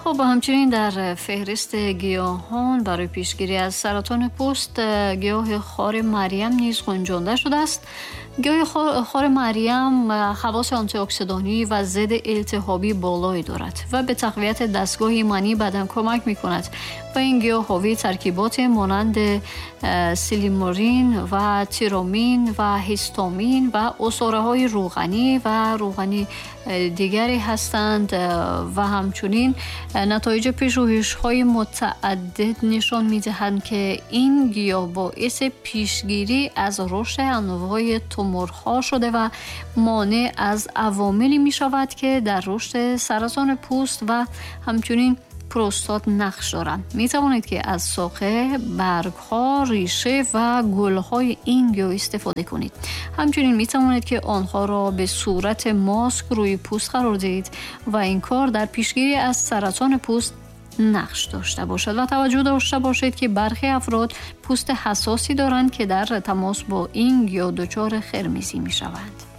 Хуб, ҳамчунин дар феҳристи гиёҳон барои пешгирӣ аз саратони пӯст гиёҳи хори Марьям низ гунҷонда шудааст. Гиёҳи хори Марьям хавоси антиоксидонӣ ва зидди илтиҳобӣ болое дорад ва ба тақвияти дастгоҳи имании бадан кӯмак мекунад ва ин гиёҳ ҳовии таркиботе монанди силиморин ва тиромин ва ҳистомин ва усораҳои рӯғанӣ ва рӯғани дигаре ҳастанд ва ҳамчунин натоиҷи пажӯҳишҳои мутааддид нишон медиҳанд, ки ин гиёҳ боиси пешгирӣ аз рушди анвои туморҳо шуда ва монеъ аз авомиле мешавад, ки дар рушди саратони пӯст ва ҳамчунин простат нақш доранд. Метавонед, ки аз соқа, баргҳо, реша ва гулҳои ин гиёҳ истифода кунед. Ҳамчунин метавонед, ки онҳоро ба сурати моск рӯи пӯст қарор диҳед ва ин кор дар пешгирӣ аз саратони пӯст нақш дошта бошад. Ва таваҷҷӯҳ дошта бошед, ки бархе афрод пӯсти ҳассосе доранд, ки дар тамос бо ин гиёҳ дучори қирмизӣ мешаванд.